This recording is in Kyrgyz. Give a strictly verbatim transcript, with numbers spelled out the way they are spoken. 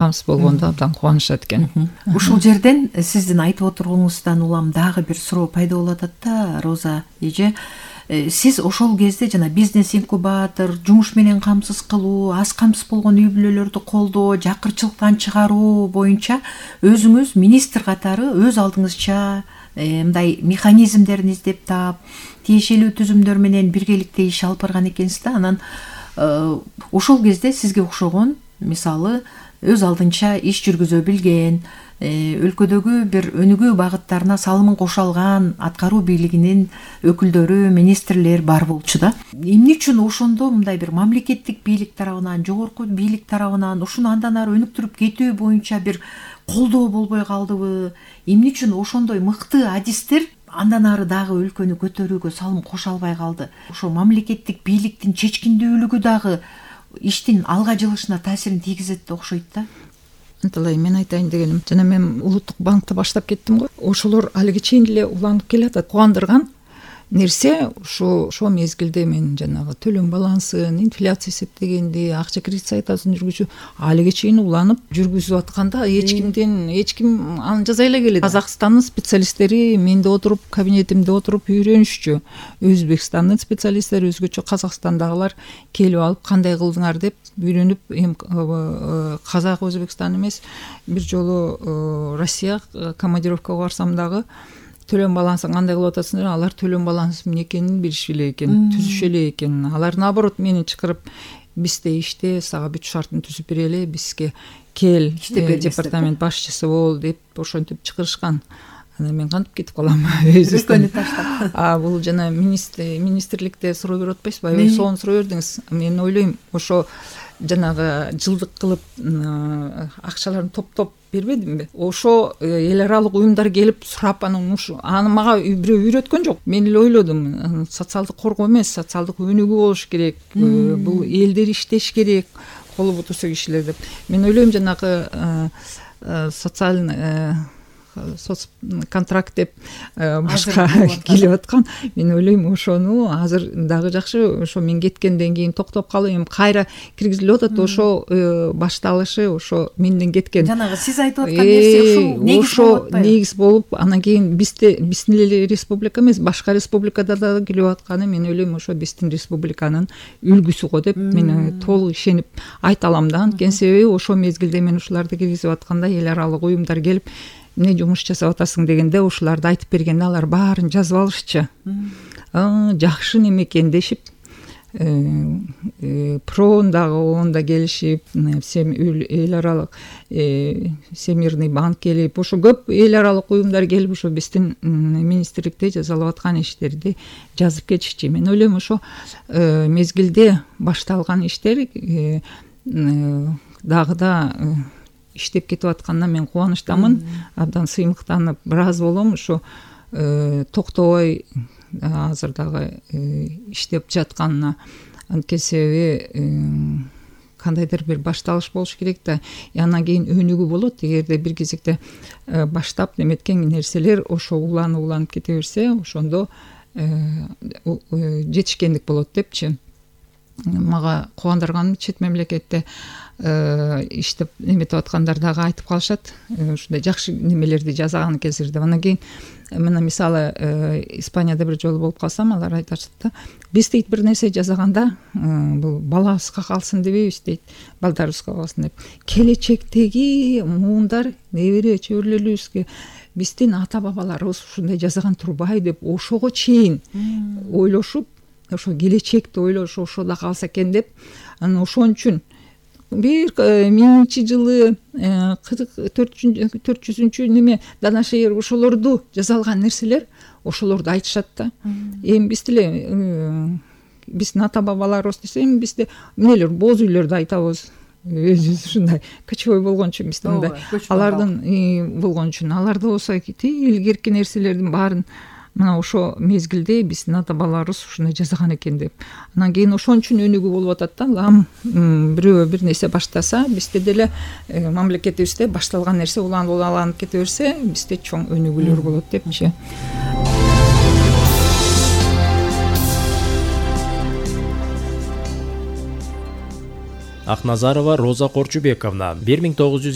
камсыз болгондо абдан кубанышат экен. Ушул жерден сиздин айтып отургонуңуздан улам дагы бир суроо пайда болуп атат да, Роза эже. Сиз ошол кезде жана бизнес инкубатор, жумуш менен камсыз кылуу, аз камсыз болгон үй бүлөлөрдү колдоо, жакырчылыктан чыгаруу боюнча өзүңүз министр катары өз алдыңызча мындай механизмдерин издеп таап, тиешелүү түзүмдөр менен биргеликте иш алып барган экенсиз да. Анан ошол кезде сизге окшогон, мисалы, өз алдынча иш жүргүзө билген, өлкөдөгү бир өнүгүү багыттарына салымын кошо алган аткаруу бийлигинин өкүлдөрү, министрлер бар болчу да. Эмне үчүн ошондо мындай бир мамлекеттик бийлик тарабынан, жогорку бийлик тарабынан ушуну андан ары өнүктүрүп кетүү боюнча бир колдоо болбой калдыбы? Эмне үчүн ошондой мыкты адистер андан ары дагы өлкөнү көтөрүүгө салым кошо албай калды? Ошо мамлекеттик бийликтин чечкиндүүлүгү дагы иштин алга жылышына таасирин тийгизет да окшойт да. Анталай мен айтайын дегеним, жана мен улуттук банкта баштап кеттим го. Ошолор алиге чейин эле уланып келатат. Кубандырган нерсе ошо ошо мезгилде мен жанагы төлөм балансын, инфляция эсептегенди, акча кредит саясатын жүргүзүү алиге чейин уланып жүргүзүп атканда эч кимден эч ким аны жаза эле келет. Казакстандын специалисттери менде отуруп, кабинетимде отуруп үйрөнүшчү. Өзбекстандын специалисттери өзгөчө, Казакстандагылар келип алып кандай кылдыңар деп үйрөнүп, эми Казак, Өзбекстан эмес, бир жолу Россия командировкага барсам дагы төлөм балансын кандай кылып атасыңдар? Алар төлөм балансы эмне экенин билишпей эле экен, түзүшө эле экен. Алар наоборот мени чакырып, бизде иште сага бүт шартын түзүп берели, бизге кел, департамент башчысы бол деп ошентип чакырышкан. Анан мен кантип кетип калам? Өлкөнү таштап. А бул жана министрликте суроо берип атпайсызбы? Аябай сонун суроо бердиңиз. Мен ойлойм, ошо жанагы жылдык кылып акчаларын топтоп бербедимби? Ошо эл аралык уюмдар келип сурап, анан аны мага бирөө үйрөткөн жок. Мен эле ойлодум, социалдык коргоо эмес, социалдык өнүгүү болуш керек. Бул элдер иштеш керек, колу бутусу кишилер деп. Мен ойлойм, жанагы социальный соц контракт деп башка келип аткан. Мен ойлойм, ошону азыр дагы жакшы, ошо мен кеткенден кийин токтоп калып, эми кайра киргизилип атат. Ошо башталышы ошо менден кеткен. Жанагы сиз айтып аткан нерсе ушул негиз болуп атпайбы? Негиз болуп, анан кийин бизде биздин эле республика эмес, башка республикада да келип атканы, мен ойлойм, ошо биздин республиканын үлгүсү го деп мен толук ишенип айта алам да. Анткени себеби ошо мезгилде мен ушуларды киргизип атканда эл аралык уюмдар келип, эмне жумуш жасап атасың дегенде, ушуларды айтып бергенде алар баарын жазып алышчы. Жакшы неме экен дешип, проон дагы онда келишип, эл аралык Всемирный банк келип, ошо көп эл аралык уюмдар келип, ошо биздин министрликте жасалып аткан иштерди жазып кетишчи. Мен ойлойм, ошо мезгилде башталган иштер дагы да иштеп кетип атканына мен кубанычтамын. Абдан сыймыктанып бир аз болом, ошо токтобой азыр дагы иштеп жатканына. Анткени себеби кандайдыр бир башталыш болуш керек да. Андан кийин өнүгүү болот. Эгерде бир кезекте баштап неметкен нерселер ошо уланып уланып кете берсе, ошондо жетишкендик болот депчи. Мага кубандырган чет мемлекетте иштеп неметип аткандар дагы айтып калышат, ушундай жакшы немелерди жасаган кезирде. Анан кийин мына мисалы Испанияда бир жолу болуп калсам, алар айтышат да, биз дейт бир нерсе жасаганда бул балабызга калсын дебейбиз дейт, балдарыбызга калсын деп. Келечектеги муундар, небере чөбүрлөрүбүзгө биздин ата бабаларыбыз ушундай жасаган турбайбы деп ошого чейин ойлошуп, ошо келечекти ойлошу ошо да калса экен деп, анан ошон үчүн бир миңинчи жылы төрт жүзүнчү неме данашер ошолорду жасалган нерселер ошолорду айтышат да. Эми биз деле биздин ата бабаларыбыз десе, эми бизде эмнелер боз үйлөрдү айтабыз. Өзүбүз ушундай кочевой болгон үчүн бизде мындай алардын болгон үчүн, аларда болсо илгерки нерселердин баарын мына ошо мезгилде биздин ата бабаларыбыз ушундай жасаган экен деп. Анан кийин ошон үчүн өнүгүү болуп атат да. Лам бирөө бир нерсе баштаса, бизде деле мамлекетибизде башталган нерсе уланып уланып кете берсе, бизде чоң өнүгүүлөр болот депчи. Акназарова Роза Корчубековна бир миң тогуз жүз